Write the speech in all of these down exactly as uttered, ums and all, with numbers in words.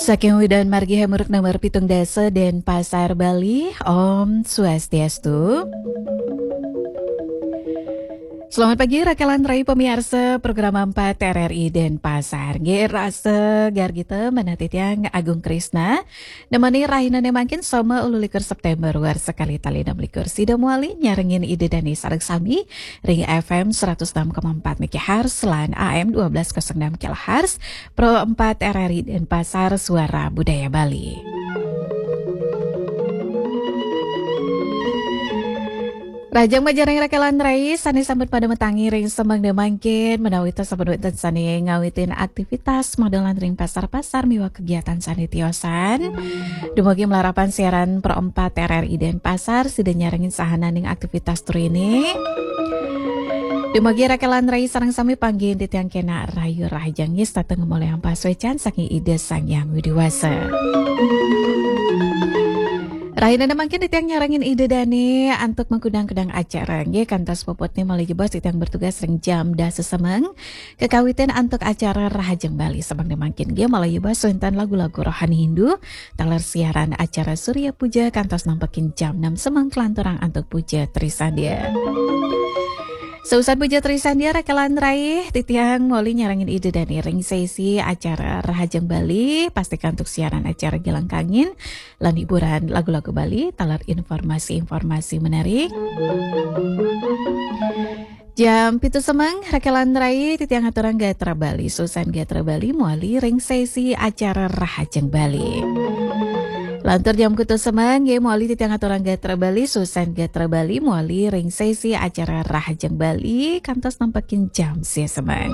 Saking Widan Margi Hamuruk nomor pitung dasa Denpasar, Bali. Om Swastiastu. Selamat pagi, Rakelan Rai pemirsa program empat R R I Denpasar. Nggih, rasa gargita manah titiang Agung Krisna. Nemani rahina ne mangkin Soma ulu likur September, warsa kalih tali enam likur. Sida mawali nyarengin Ida Dani sareng sami ring F M seratus enam koma empat megahertz lan A M dua belas kosong enam kilohertz, Pro empat R R I Denpasar, Suara Budaya Bali. Rahajeng majeng ring Rakelan Rai sane sampun pada matangi ring semeng ne mangkin, menawi ta sampun wenten sane ngawitin aktivitas madolan ring pasar-pasar miwah kegiatan sane tiosan. Dumugi malarapan siaran Pro empat R R I Denpasar sida nyarengin sahananing aktivitas trine. Dumugi Rakelan Rai sareng sami panggihin titiang kenak rahayu, rahajeng yis tateng ngamolihang pasuecan saking Ida Sang Hyang Widi Wasa. Rahina ne mangkin titiang nyarengin Ida Dani antuk mengkudang-kudang acara. Nggih, kantos puputne malih jebos titiang bertugas ring jam dasa semeng. Kekawitin antuk acara Rahajeng Bali semeng ne mangkin nggih, malih jebos wenten lagu-lagu rohani Hindu, taler siaran acara Surya Puja kantos nampekin jam enam semeng kalanturang antuk Puja Trisandia. Sausan Puja Trisandia, Rakelan Rai, titiang mawali nyarengin Ida Dani ring sesi acara Rahajeng Bali, pastika antuk siaran acara Gilang Kangin lan hiburan lagu-lagu Bali, taler informasi-informasi menarik. Jam pitu semeng, Rakelan Rai, titiang aturang gatra Bali, sausan gatra Bali mawali ring sesi acara Rahajeng Bali. Lantur jam kutus semeng, nggih, mawali titiang aturang gatra Bali, sausan gatra Bali mawali ring sesi acara Rahajeng Bali kantos nampekin jam sia semeng.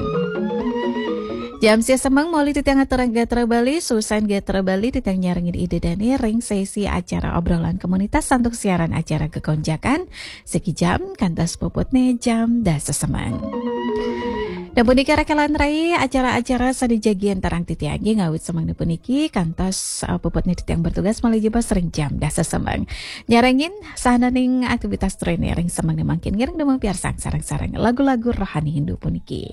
Jam sia semeng mawali titiang aturang gatra Bali, sausan gatra Bali titiang nyarengin Ida Dani ring sesi acara obrolan komunitas antuk siaran acara Gekonjakan siki jam kantos puputne jam dasa semeng. Dan punika Rakelan Rai, acara-acara sane jagi antarang titiang nggih ngawit semeng puniki kantos, uh, puputne titiang bertugas malih jebos ring jam dasa semeng. Nyarengin sahananing aktivitas trine ring semeng ne mangkin, ngiring dumun piarsang sareng-sareng lagu-lagu rohani Hindu puniki.